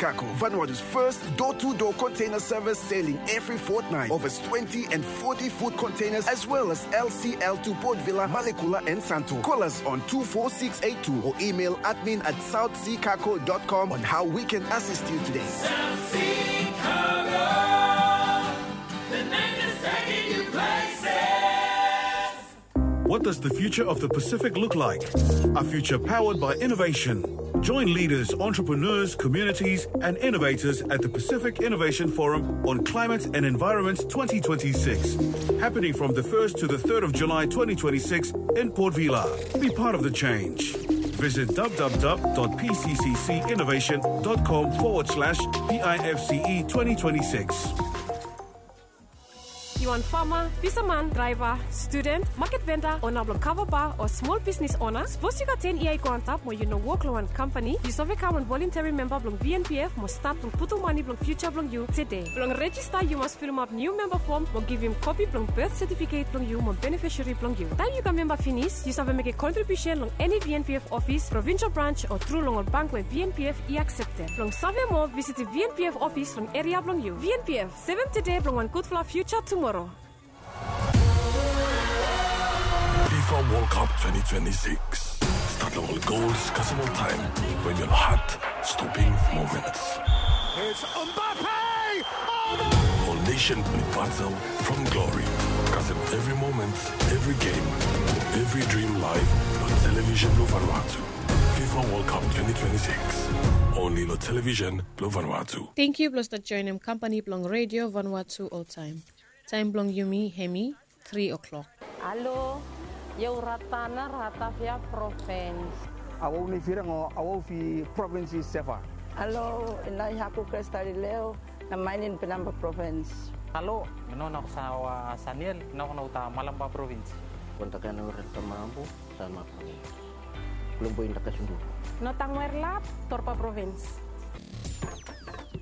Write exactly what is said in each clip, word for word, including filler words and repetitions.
Kako, Vanuatu's first door-to-door container service, sailing every fortnight. Over twenty and forty foot containers, as well as L C L to Port Vila, Malekula, and Santo. Call us on two four six eight two or email admin at south sea cargo dot com on how we can assist you today. South Sea Cargo, the name that's taking you places. What does the future of the Pacific look like? A future powered by innovation. Join leaders, entrepreneurs, communities, and innovators at the Pacific Innovation Forum on Climate and Environment twenty twenty-six, happening from the first to the third of July twenty twenty-six in Port Vila. Be part of the change. Visit w w w dot p c c c innovation dot com forward slash p i f c e twenty twenty-six. Yu wan fama, fisaman, draeva, studen, maket venda, ona blong kava ba o smol bisnis ona? Sapos yu gat ten yia i go antap mo yu no wok long wan kampani, yu save kam wan volonteri memba blong V N P F mo stat blong putum mane blong fiuja blong yu tede. Blong rejista yu mas filimap niu memba fom mo givim kopi blong bet setifiket blong yu mo benefisari blong yu. Taem yu kam memba finis, yu save mekem kontribiusen long eni V N P F ofis, provinsel brans o tru long ol bank we V N P F i aksepted. Blong save moa, visitim V N P F ofis long eria blong yu. V N P F, sevem tede blong wan gudfala fiuja tumoro. FIFA World Cup twenty twenty-six. Stat long ol gols kasem ol taem we mi ol hat stoping moments. It's Mbappe! Oh, no! Ol nesen blong batel from glory. Kasem evri moment, evri gem, evri drim laef long televisen blong Vanuatu. FIFA World Cup twenty twenty-six. Only long televisen blong Vanuatu. Tangkiu blong stap joenem kampani blong Redio Vanuatu oltaem. Taem blong yumi hemi tri o'clock. Alo, ia u Ratana, Ratavea Provins. Awau nei Firang o awau fi provins i Seva. Alo, inai haku Krestalileo, na mainin Penamba Provins. Alo, mi no na sawa Saniel, na na uta Malamba Provins. Kontakan ura tamabu, sama Provins. Kulumbu inda kasundu. No tangwer lap, Torpa Provins.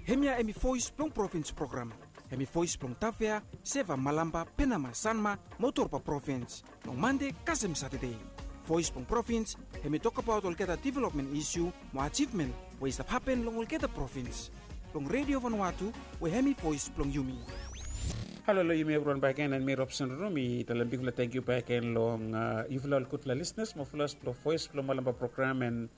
Hemia hemi voes blong provins program. Hemi voes blong Tavea, Seva, Malamba, Penama, Sanma, mo Torpa Provins. Long Mande kasem Satade. Voes blong provins, hemi tokbaot olgeta developmen isiu mo ajivmen we i stap hapen long olgeta provins. Long Redio Vanuatu, we hemi voes blong yumi. Halo long yumi evriwan bakegen, and mi Robson Ruru, mi talem bigfala tangkiu bakegen long, a, yufala ol gudfala lisenas mo followers blong Voes blong Malamba program, and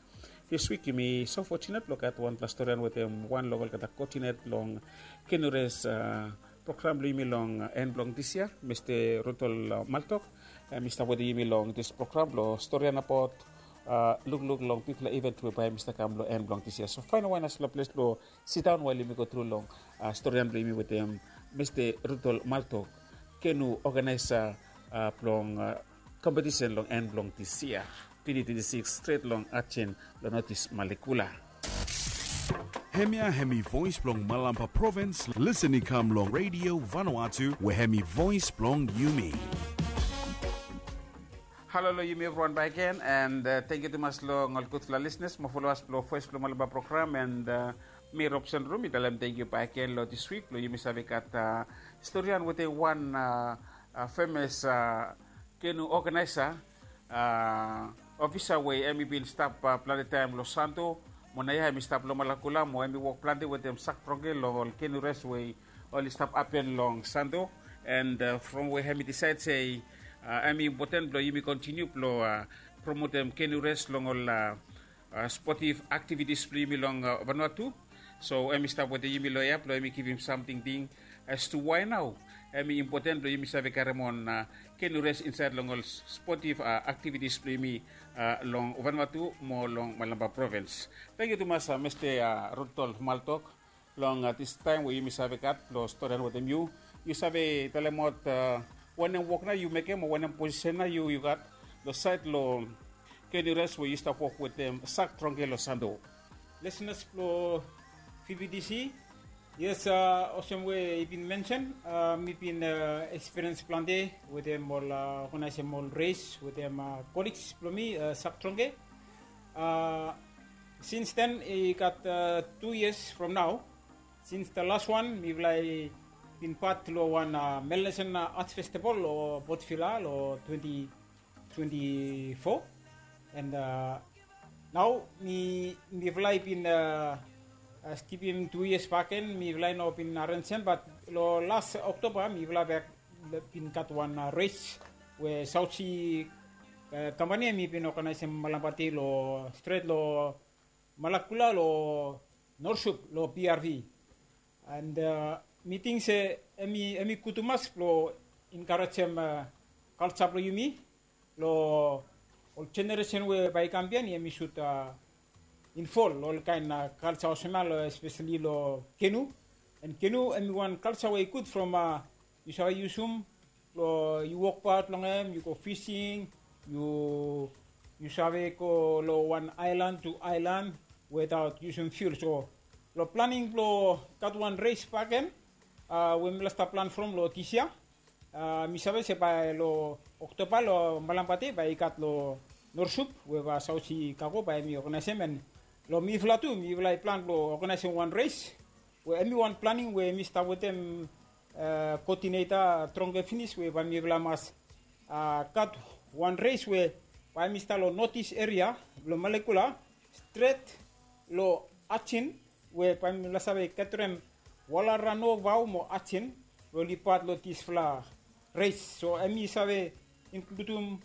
This week yumi so fortunate blong gat wanpela storian wetem wan long olgeta koodinet long Kenu Res, a, program blong yumi long, a, en blong dis yia, Mista Rudolf, a, Maltok. Em i stap wetem yumi long dis program blong storian abaot, a, lukluk long bigfala event we bae hemi stap kam long en blong dis yia. So faindaot wanem dispela ples blong sidaon wael yumi go tru long, a, storian blong yumi wetem Mista Rudolf Maltok, kenu oganaesa, a, blong, a, kompetisen long en blong dis yia, twenty twenty-six, stret long Achen, long notis Malekula. Hemia hemi voes blong Malampa provins, lisen i kam long Redio Vanuatu, we hemi voes blong yumi. Halo long yumi evriwan bakegen, and, a, tangkiu tumas long ol gudfala lisenas mo followers blong Voes blong Malampa program, and, a, mi Robson Ruru, mi talem tangkiu bakegen long dis wik blong yumi save gat, a, storian wetem wan, a, a, femes, a, kenu oganaesa, a, ofisa we hemi bin stap, a, plante taem long Santo, mo naoia hemi stap long Malekula, mo hemi wok plante wetem sak drongke long ol kenu res we oli stap hapen long Santo. And, a, from we hemi disaed se, a, hemi impoten blong yumi kontiniu blong, a, promotem kenu res long ol, a, a, sportive activities blong yumi long, a, Vanuatu. So hemi stap wetem yumi long hia blong hemi givim sam tingting as to why nao hemi impoten blong yumi save karem on, a, kenu res insaed long ol s-, sportive, a, activities blong yumi, a, long Vanuatu mo long Malampa provins. Tangkiu tumas, a, Mista, a, Rudolf Maltok. Long, a, dis taem we yumi save gat long storian wetem yu, yu save talemaot, a, wanem wok nao yu mekem o wanem posisen nao yu, yu gat long saed long kenu res we yu stap wok wetem sak drongke long Santo? Lisenas blong V B T C, yes, a, olsem we i bin mensen, a, mi bin, a, ekspiriens plante wetem ol, a, oganaesem ol res wetem, a, koligs blong mi, a, sak drongke. A, sins den i gat, a, tu yias from nao. Sins the last one, mifala i bin pat long wan, a, Melanesian, a, Arts Festival long Port Vila long twenty twenty-four. And, a, nao mi, mifala i bin, a, Skipim tu yias baken mifala i no bin arenjem, bat long las Oktoba mifala bek bin gat wan res we Saut Si kampani em i bin oganaisim malampa dei long stret long Malakula long Norsup long B R V. And mi ting se em i gud tumas blong enkarejem kalsa blong yumi long ol jeneresen we bae i kam biaen, em i sud invol long olkaen kalsa olsem ya, espeseli long kenu. And kenu em i wan kalsa we i gud from yu save yusum blong yu wokbaot long hem, yu go fising, yu save go long wan aelan tu aelan wetaot yusum fiul. So long planing blong gat wan res baken we mifala stap plan from long dis yia, mi save se bae long Oktoba long malampa dei bae i gat long Norsup we bae Saut Si Kago bae em i oganaisim. And long mifala tu mifala i plan blong oganaisim wan res we em i wan planing we mi stap wetem koodineta Tronge finis we bae mifala mas gat wan res we bae mi stap long notis eria blong Malakula stret long Ajen, we bae mifala save getrem Walarano, Vao mo Ajen blong oli pat long disfala res. So em i save inkludim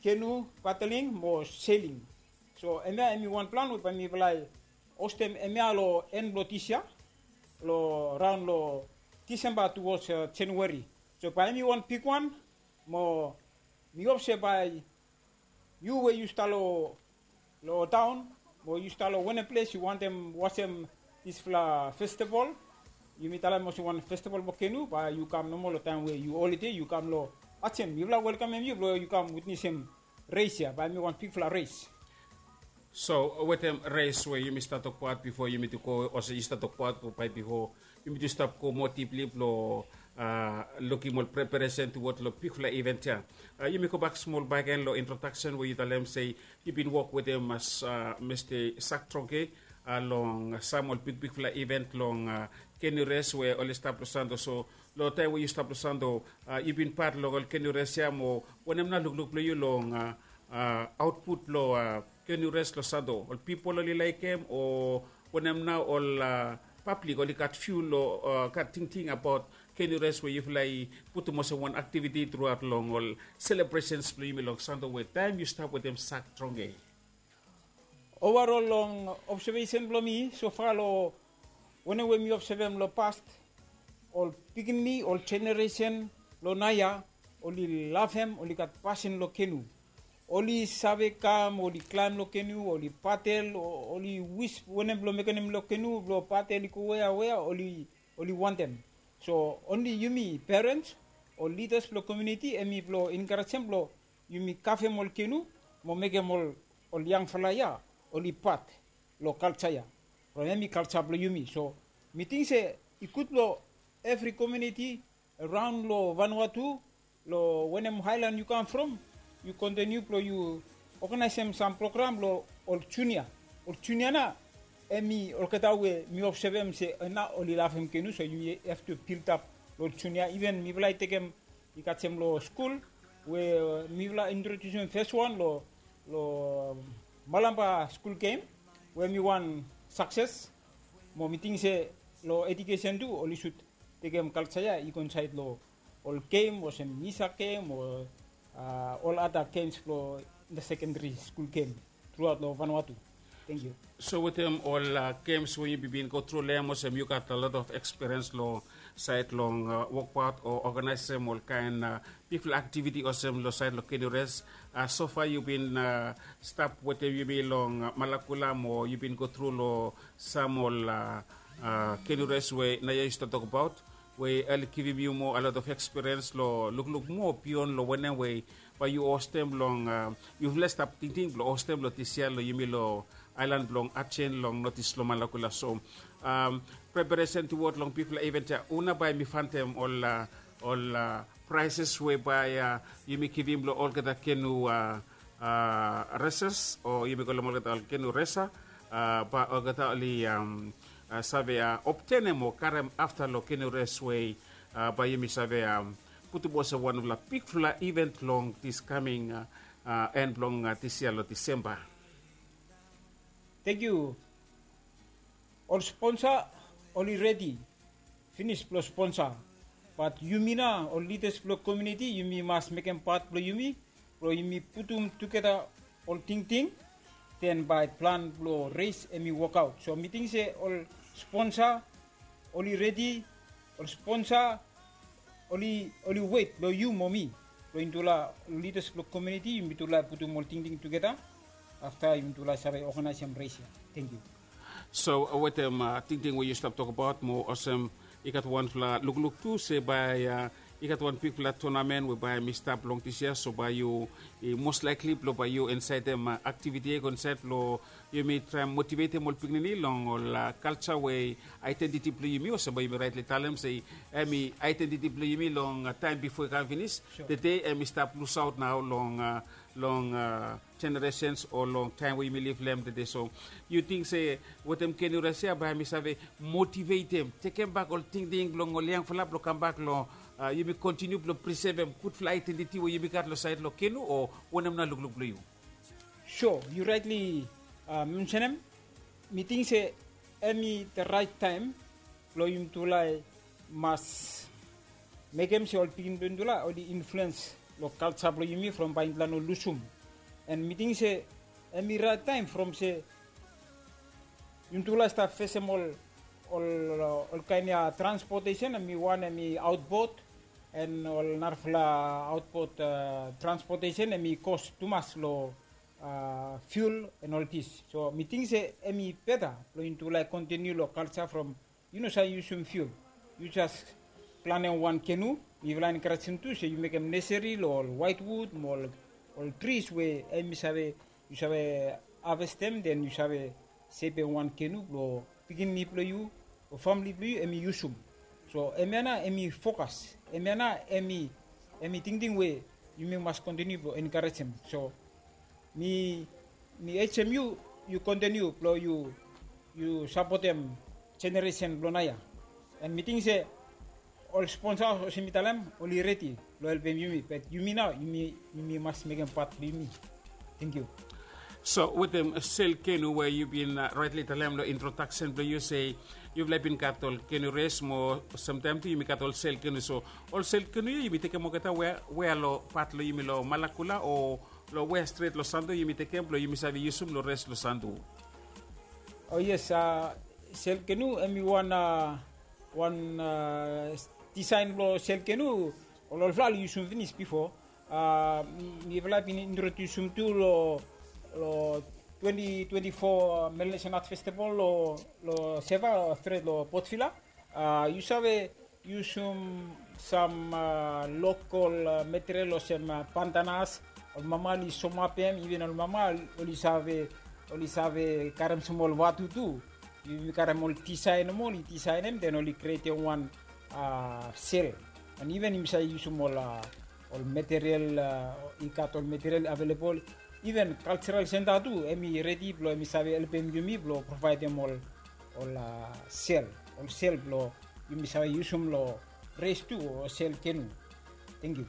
kenu, padeling mo seling. So hemia em i wan plan we bae mifala i hostem hemia long en blong dis yia, long raon long Disemba tuwods Januari. So bae em i wan bigwan mo mi hop se bae yu we yu stap long taon mo yu stap long wanem ples yu wantem wasem disfala festival, yumi talem olsem wan festival blong kenu, bae yu kam nomo long taem we yu holide, yu kam long Ajen, mifala welkamem yu blong yu kam witnesem res ya, bae em i wan bigfala res. So wetem res we yumi stap tokbaot bifo, yumi tu go olsem yu stap tokbaot bae bifo yumi tu stap go moa dipli blong lukim ol preparesen tuwod long bigfala iven ya. Yumi gobak smol bakegen long introdaksen we yu talem se yu bin wok wetem Mista Sak Tronge long sam ol bigbigfala iven long kenu res we oli stap long Santo. So long taem we yu stap long Santo, yu bin pat long ol kenu res ya, mo wanem nao lukluk blong yu long aotput blong kenu res long Santo? Ol pipol oli laekem, o wanem nao ol pablik oli gat fiu long gat tingting abaot kenu res we yufala i putum olsem wan aktiviti truaot long ol selebresens blong yumi long Santo we taem yu stap wetem Sak Tronge? Ovarol long obsevesen blong mi sofa, long wanem we mi obsevem long pas, ol pikinini, ol jeneresen long naoia oli lavem, oli gat pasin long kenu. Oli save kam, oli klaem long kenu, oli padel, oli wis wanem blong mekenem long kenu blong padel i go wea wea oli wantem. So onli yumi perens o lidas blong komuniti hemi blong enkarejem blong yumi kavem ol kenu mo mekem ol yangfala ya oli pat long kalja ya. From hemi kalja blong yumi. So mi ting se i gud blong evri komuniti araon long Vanuatu, long wanem aelan yu kam from, yu kontiniu blong yu oganaesem sam program long ol junia. Ol junia nao hemi olgeta we mi obsevem se nao oli lavem kenu, so yu have to build up long ol junia. Iven mifala i tekem, i gat sem long skul we mifala introdiusim feswan long Malampa skul gem we hemi wan sakses. Mo mi ting se long ejukesen tu oli sud tekem kalja ya i go insaed long ol gem olsem misa gem o ol ada gems blong inta sekendari skul gem truaot long Vanuatu. Tangkiu. So wetem ol gems we yu bin go tru long hem olsem yu gat a lot of ekspiriens long saed long wokbaot o oganaesem ol kaen bigfala aktiviti olsem long saed long kenu res. Sofa yu bin stap wetem yumi long Malakula mo yu bin go tru long sam ol kenu res we naoia yu stap tokbaot, we oli givim yu moa a lot of ekspiriens long lukluk moa bion long wanem we bae yu hostem long, yufala stap tingting blong hostem long dis yia long yumi long aelan blong Ajen long notis long Malakula. So preparesen tuwod long bigfala iven ya, hu nao bae hemi fantem ol praeses we bae yumi givim long olgeta kenu reses o yumi kolem olgeta ol kenu resa, bae olgeta oli save obtenem o karem afta long kenu res we bae yumi save putum olsem wanfala bigfala iven long dis kaming en blong dis yia long Disemba. Tangkiu. Ol sponsa oli redi finis blong sponsa. Bat yumi nao ol lidas blong komiuniti yumi mas mekem pat blong yumi blong yumi putum tugeta ol tingting, den bae plan blong res hem i wokaot. So mi ting se ol sponsa oli redi, ol sponsa oli wet long yu mo mi blong yumi tufala ol lidas blong komiuniti yumi tufala putum ol tingting tugeta afta yumi tufala save oganaesem res ya. Tengkiu. So wetem tingting we yu stap tokbaot mo olsem i gat wanfala lukluk tu se bae i gat wan bigfala tonamen we bae hem i stap long disia, so bae yu i mos laikli blong bae yu insaetem aktiviti ya i go insaed blong yumi traem motivetem ol pikinini long ol kalsa we aedentiti blong yumi olsem bae yumi raetli talem se hem i aedentiti blong yumi long taem bifo i kam finis. Tede hem i stap lusaot nao long long jeneresens o long taem we yumi liv long hem tede. So yu ting se wetem kenu res ya bae hem i save motivetem tekem bak ol tingting blong ol yangfala blong kambak long yumi kontiniu blong prisevem gudfala aedentiti we yumi gat long saed long kenu o wanem nao lukluk blong yu? So yu raetli mensenem. Mi ting se hem i de raet taem blong yumi tufala i mas mekem se ol pikinini blong yumi tufala oli influens long kalsa blong yumi from bae yumi tufala no lusum. An mi ting se hem i raet taem from se yumi tufala i stap fesem ol ol kaen ya transpotesen hem i wan hem i aotbot an ol narafala aotbot transpotesen hem i kos tumas long fiul an ol dis. So mi ting se hem i beta blong yumi tufala i kontiniu long kalsa from yu no save yusum fiul. Yu jas planem wan kenu. Mifala enkarejem tu se yu mekem neseri long ol waetwud mo ol tris we hem i save yu save havestem den yu save sepem wan kenu blong pikinini blong yu o famili blong yu hem i yusum. So hemia nao hem i fokas, hemia nao hem i tingting we yumi mas kontiniu blong enkarejem. So mi mi ejem yu yu kontiniu blong yu yu sapotem jeneresen blong naoia. An mi ting se ol sponsa olsem mi talem oli redi blong helpem yumi, bat yumi nao yumi yumi mas mekem pat blong yumi. Tengkiu. So wetem sel kenu we yu bin raetli talem long introdaksen blong yu se yufala i bin gat ol kenu res mo samtaem tu yumi gat ol sel kenu. So ol sel kenu ya yumi tekem olgeta wea long pat long yumi long Malakula o long wea stret long Santo yumi tekem blong yumi save yusum long res long Santo? O yes, sel kenu hem i wan wan disaen blong sel kenu ol olfala oli yusum finis bifo. Mifala bin introdiusum tu long long twenti twenti fo Melanesian Art Festival long Seva stret long Port Vila. Yu save yusum sam lokol material olsem pantanas, ol mama oli somapem, iven ol mama oli save oli save karem smol vatu tu. Yumi karem ol disaen nomo oli disaenem den oli krietem wan sel. An iven yumi save yusum ol ol material i gat ol material avelebol. Iven kalsaral senta tu hem i redi blong hem i save helpem yumi blong provaedem ol ol sel ol sel blong yumi save yusum long res tu o sel kenu. Tengkiu.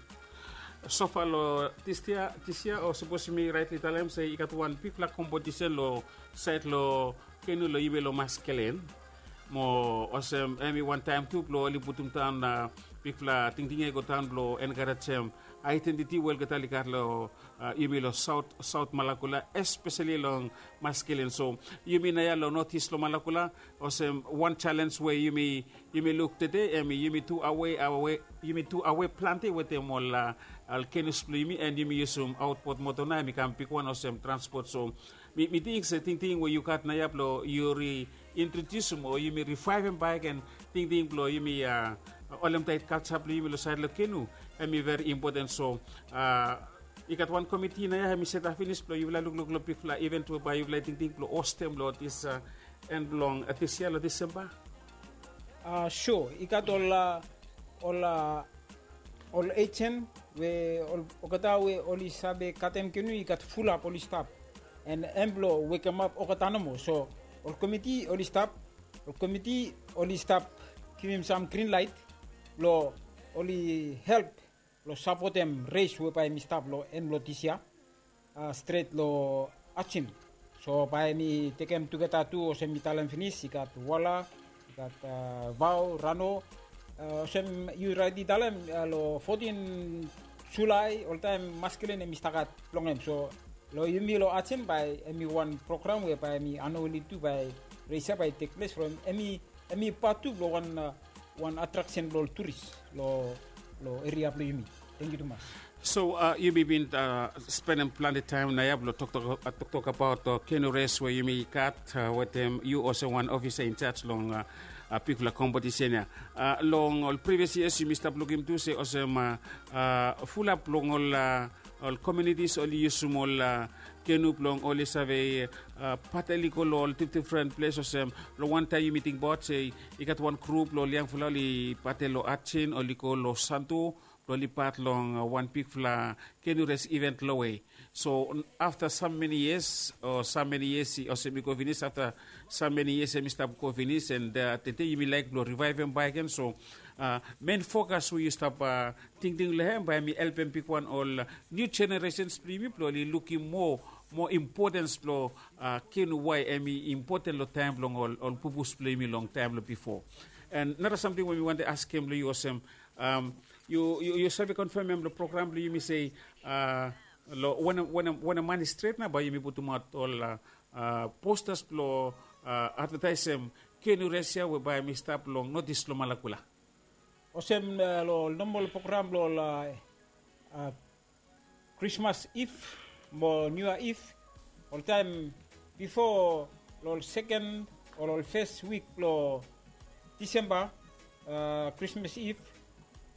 Sofa long dis yia o sapos yumi raetli talem se i gat wan bigfala kompetisen long saed long kenu long yumi long Maskelen. Mo olsem hem i wantaem tu blong oli putum daon bigfala tingting ya i go daon blong enkarejem aedentiti we olgeta oli gat long yumi long saot saot Malakula, espeseli long Maskelen. So yumi naoia long notis long Malakula olsem wan jalens we yumi yumi luk tede hem i yumi tu awe awe yumi tu awe plante wetem ol ol kenus blong yumi an yumi yusum aotbot moto nao hem i kam bigwan olsem transpot. So mi mi ting se tingting we yu gat naoia blong yu riintrodiusim o yumi rivaevem baek an tingting blong yumi a olemtaet kalsa blong yumi long saed long kenu hem i veri impoten. So a i gat wan komiti naoia hem i setap finis blong yufala lukluk long bigfala iven tu bae yufala i tingting blong hostem long dis a en blong dis yia long Disemba. A so i gat ol a ol a ol ejen we ol olgeta we oli save katem kenu i gat fulap oli stap an hem blong wekemap olgeta nomo. So ol komiti oli stap ol komiti oli stap givim sam grin laet blong oli help blong sapotem res we bae hem i stap long en blong dis yia a stret long Ajen. So bae mi tekem tugeta tu olsem mi talem finis, i gat Wala, i gat Vao, Rano. Olsem yu raet i talem long fotin Julae oltaem maskelen hemi stap gat blong hem. So long yumi long Hudson bae hemi wan program we bae hemi anuali tu bae reisa bae i tekples from hemi hemi pat tu blong wan wan atraksen blong ol turis long long eria blong yumi. Tangkiu tumas. So yumi bin spendem plante taem naoia blong toktok abaot kenu res we yumi gat wetem yu olsem wan ofisa injaj long bigfala kompetisen ya. Long ol privias yias yumi stap lukim tu se olsem fulap long ol ol komiunitis oli yusum ol kenu blong oli save patel i go long ol difdifren ples olsem long wantaem yumi tingbaot se i gat wan grup blong ol yangfala oli patel long Hudson oli go long Santo blong oli pat long wan bigfala kenu res iven lowe. So afta sam meni yias o sam meni yias olsem i go finis afta sam meni yias hemi stap go finis and tede yumi laek blong rivaevem bakegen. So men fokas we yu stap tingting long hem bae hemi helpem bigwan ol niu jeneresens blong yumi blong oli lukim moa moa impotens blong kenu wae hemi impoten long taem blong ol pupus blong yumi long taem blong bifo. And nara samting we mi wantem askem long yu olsem yu save konfemem long program blong yumi se long wanem man i stret nao bae yumi putumaot ol postas blong advetaesem kenu res ya we bae hemi stap long notis long Malakula. Olsem long ol nomol program blong ol Krismas Iv mo Niu Yia Iv, oltaem bifo long ol seken o long ol fes wik blong Disemba, Krismas Iv,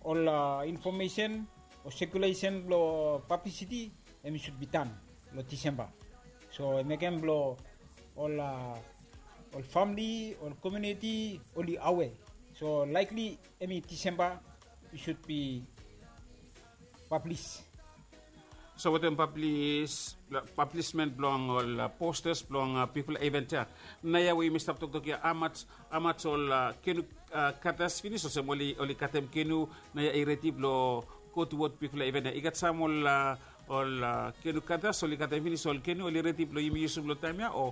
ol infomesen o sekulesen blong pablisiti hemi sud bi dan long Disemba. So mekem blong ol ol famili ol komiuniti oli awe. So laekli hemi Disemba i sud bi pablis. So wetem pablis pablismen blong ol postas blong bigfala iven ya, naoia we yumi stap toktok ya, hamaj ol kenu katas finis olsem oli katem kenu naoia i redi blong go tuwod bigfala iven ya? I gat sam ol ol kenu katas oli katem finis ol kenu oli redi blong yumi yusum long taem ya o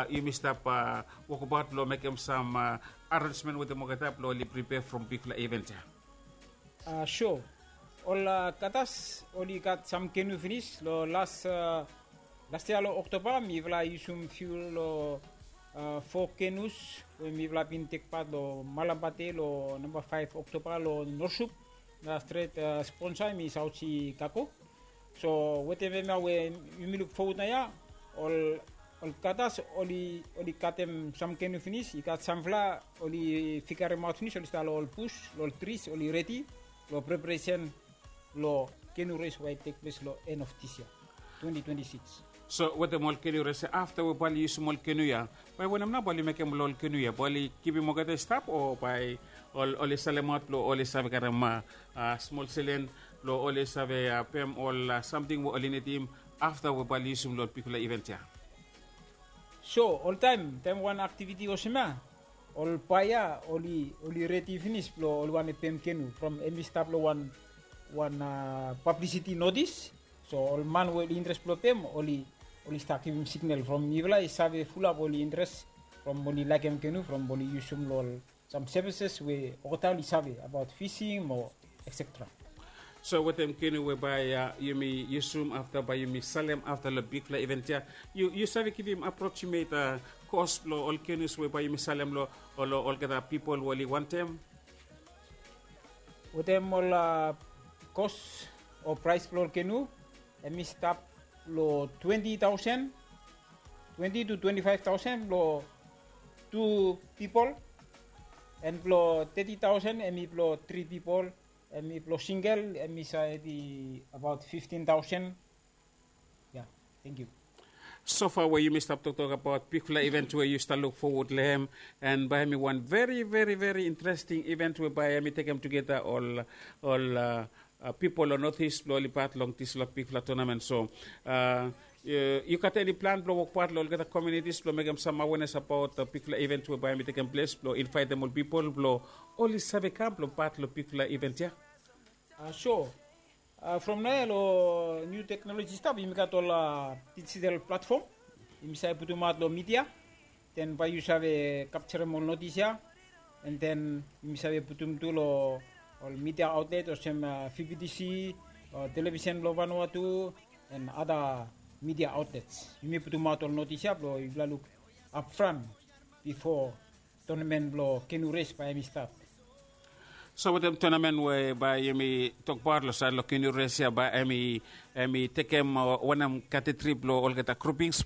yumi stap wokbaot blong mekem sam arensmen wetem olgeta blong oli pripea from bigfala iven ya? A so ol katas oli gat sam kenu finis long las las yia long Oktoba mifala i yusum fiu long fo kenus we mifala bin tekpat long Malambate long namba faef Oktoba long Norsup. Na stret sponsa hemi Saut Si Kako. So wetem hemia we yumi luk fowod naoia ol ol katas oli oli katem sam kenu finis, i gat samfala oli figaremaot finis oli stap long ol bus long ol tris oli redi long preparesen long kenu res we i tekples long en of dis yia twenti twenti sikis. So wetem ol kenu res ya afta we bae oli yusum ol kenu ya, bae wanem nao bae oli mekem long ol kenu ya? Bae oli givim olgeta i stap o bae oli salemaot blong oli save karem smol selen blong oli save pem ol samting we oli nidim afta we bae oli yusum long ol bigfala iven ya? So oltaem taem wan aktiviti olsem ya ol baea oli oli redi finis blong oli wantem pem kenu from hemi stap long wan wan pablisiti notis. So ol man we oli interes blong pem oli oli stap givim signal from mifala i save fulap oli interes from oli laekem kenu from oli yusum long ol sam sevises we olgeta oli save abaot fising mo etsetera. So wetem kenu we bae yumi yusum afta bae yumi salem afta long bigfala iven ya, yu save givim aproksimet kos blong ol kenus we bae yumi salem long olgeta pipol we oli wantem? Wetem ol kos o praes blong ol kenu hemi stap long twenti taosen twenti tu twenti faef taosen blong tu pipol. An blong teti taosen hemi blong tri pipol. Hemi blong singel hemi save bi abaot fiftin taosen. Ya. Tangkiu. Sofa we yumi stap toktok abaot bigfala iven we yu stap luk fowod long hem, an bae hemi wan veri veri veri interesting iven we bae hemi tekem tugeta ol ol pipol long notis blong oli pat long disfala bigfala tonamen. So yu gat eni plan blong wokbaot long olgeta komiunitis blong mekem sam awenes abaot bigfala iven we bae hemi tekem ples blong invaetem ol pipol blong oli save kam blong pat long bigfala iven ya? So from naoia long niu teknoloji stap yumi gat ol dijital platfom. yumi save putumaot long midia, den bae yu save kapserem ol notis ya, and then yumi save putum tu long ol midia aotlet olsem vbtc, televisen blong vanua tu, and ada midia aotlets. Yumi putumaot ol notis ya blong yufala luk apfran bifo tonamen blong kenu res bae em i stat. So wetem tonamen we bae yumi tokbaot long sait long kenu res ya bae em i tekem wanem katetri blong olgeta grupings?